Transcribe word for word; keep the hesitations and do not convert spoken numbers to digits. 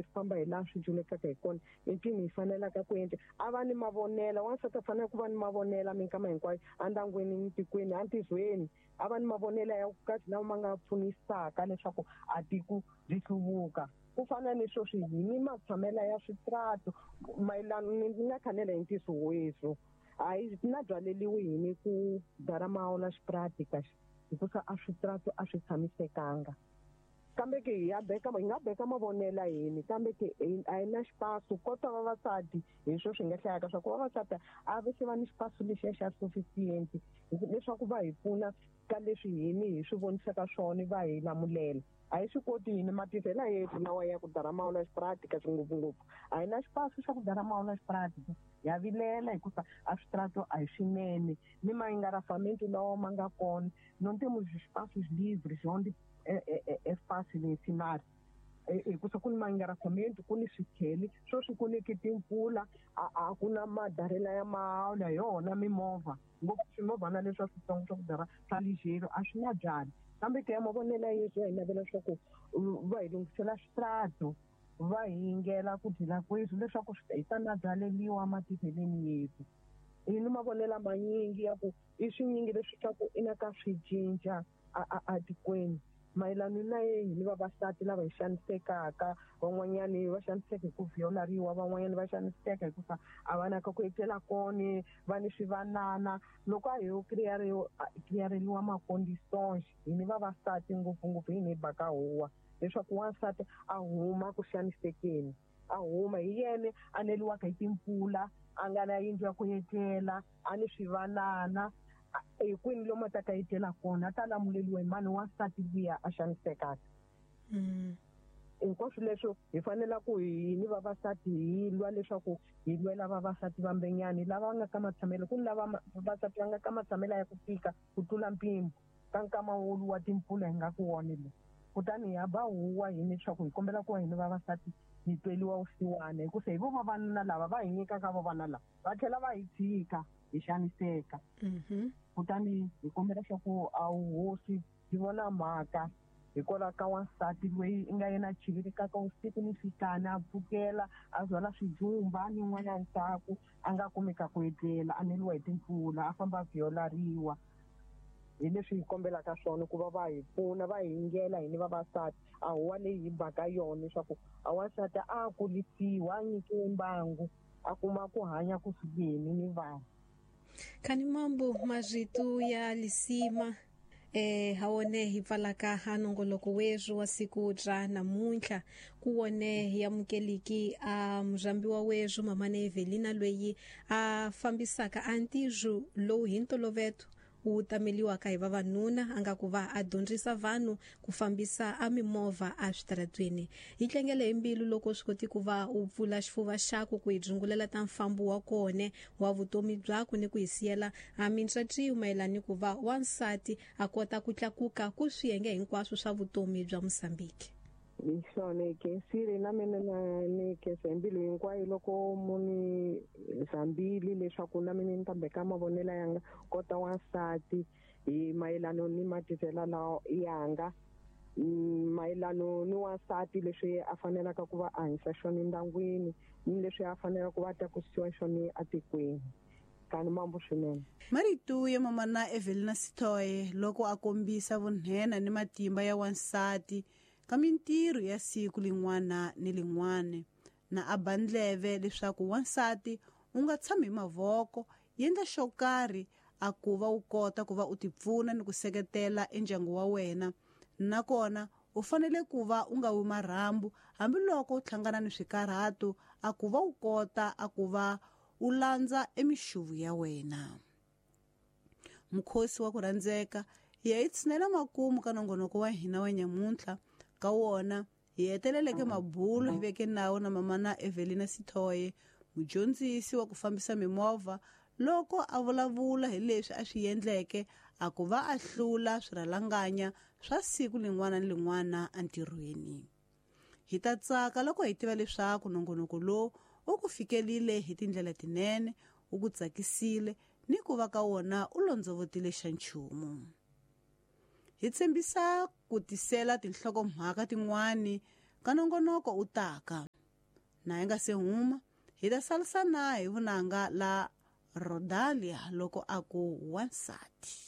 swi famba hi laha swi dyulekaka hi kona i mpfini hi fanelaka ku endla a va ni mavonela wansati a fanele ku va ni mavonela minkama hinkwayo endyangwini ni antizweni a va ni mavonela ya kahle lawa ma nga pfunisaka leswaku a tiko ri hluvuka ku fana ni sweswi hi ni matshamela ya switrato mayelana ni nga khanela hi ntiso wethu a yi na byaleliwi hi ni ku dara mawula xipratika hikusa a switrato a swi tshamisekanga kambe ke hi ya beka hi nga beka mavonela yini kambe ke a hi na xipasu kota vavasati hi swo swi nga hlayaka swa ku vavasati a va se va ni xipasu lexiya xa sufficient leswaku va hi pfuna ka leswi hini hi swi vonisaka swona va hi lamulela a hi swi koti hini matirhela yethu lawa ya ku dara mawula xipratika ngopfungopfu a hi na xipasu xa ku dara mawula xipratika ya vilela hikuva a switrato a hi swinene ni maengarafamento lawa ma nga kona não temos espaços livres onde é, é, é fácil ensinar hikusa ku ni maengarafamento ku ni swikheli sweswi ku niki timpfula a ku na madarela ya mawula hi yona mimovha ngopfu swimovhana leswi switsongo swa ku dara swa ligeiro a swi na byali kambe ke ya mavonela yesu hi navela leswaku va hi lunghisela switrato va hi yingela ku dyela kwethu leswaku hi ta na byaleliwa matirheleni yethu hi ni mavonela manyingi ya ku i swinyingi leswi swa ku i na ka swi cinca a tikweni mayelana na yehi ni vavasati lava hi xanisekaka van'wanyani va xaniseka hi ku violariwa van'wanyani va xaniseka hikuva a va na ka ku etlela kona va ni swivanana loko a hi yo kiriyareliwa maconditions hi ni vavasati ngopfungopfu hi ni baka huwa leswaku wansati a huma ku xanisekeni a huma hi yena a neliwaka hi timpfula a nga na yindlu ya ku etlela a ni swivanana hi kwini lomu a ta ka etlela kona a ta lamuleliwa hi mani wansati luya a xanisekaka hinkwaswo leswo hi fanela ku hi ni vavasati hi lwa leswaku hi lwela vavasati vambenyani lava nga ka matshamelo ku ni lava vavasati va nga ka matshamelo ya ku tika ku tlula mpimo ka nkama wolu wa timpfula hi nga ku wona lowu kutani hi ya ba huwa hi leswaku hi kombela ku va hina vavasati hi tweliwa vusiwana hikusa hi vo vavanuna lava va hi nyikaka vavana lava va tlhela va hi tshika hi xaniseka kutani hi kombela leswaku a hosi byi vona mhaka hikwalaho ka wansati loyi i nga yena chivirikaka usiku ni nhlikani a pfukela a byala swijumba ni n'wana ndzhaku a nga kumeka ku etlela a neliwa hi timpfula a famba a violariwa hi leswi hi kombelaka swona ku va va hi pfuna va hi yingela hini vavasati a huwa leyi hi baka yona leswaku a wansati a kulisiwa a nyikiwe mbangu a kuma ku hanya kusukeni ni vanhu Kani mambo marito ya lisima eh hawone hi pfalaka ha nongoloko wethu wa siku ra namuntlha ku wone hi amukeliki a murhambiwa wethu mamane Evelina loyi a fambisaka a ntirho lowu hi ntolovelo wu tameliwaka hi vavanuna a nga ku va a dyondzisa vanhu ku fambisa a mimovha a switaratweni hi tlangele hi mbilu loko swi koti ku va u pfula xifuva xaku ku hi dzungulela ta mfambo wa kone wa vutomi byakwe ni ku hi siyela a mintswatswiyo mayelana ni ku va wansati a kota ku tlakuka ku swiyenge hinkwaswo swa vutomi bya Mozambique. Hi swona hi khensile na mina na ni khensa hi mbilu hinkwayo loko muni zambili leswaku na mina ni ta beka mavonelo yanga kota wansati hi mayelana ni matirhelo lawa yanga mayelana ni wansati leswi a fanelaka ku va a hanyisa xona endyangwini ni leswi a fanelaka ku va a tlakusiwa xona etikweni. Kani mambo swinene. Marito ya mamana Evelina Sitoe loko a kombisa vunhena ni matimba ya wansati ka mintirho ya siku lin'wana ni lin'wana na a ba ndleve leswaku wansati u nga tshami hi mavoko yendla xo karhi a ku va u kota ku va u tipfuna ni ku seketela endyangu wa wena nakona u fanele ku va u nga wi marhambu hambiloko u hlangana ni swikarhato a ku va u kota a ku va u landza emixuvu ya wena. Mukhosi wa ku rhandzeka hi ya hi tshinela makumu ka nongonoko wa hina wa nyamuntlha ka wona hi heteleleke mabulo hi veke nawu na mamana Evelina Sitoe mudyondzisi wa ku fambisa mimovha loko a vulavula hi leswi a swi endleke a ku va a hlula swirhalanganya swa siku lin'wana ni lin'wana entirhweni. Hi ta tsaka loko hi tiva leswaku nongonoko lowu u ku fikelile hi tindlela tinene u ku tsakisile ni ku va ka wona u londzovotile xa nchumu. Hi tshembisa ku tisela tinhlokomhaka tin'wani ka nongonoko u taka. Na hi nga se huma hi ta salisa na hi vunanga la Rodalia loko a ku wansati.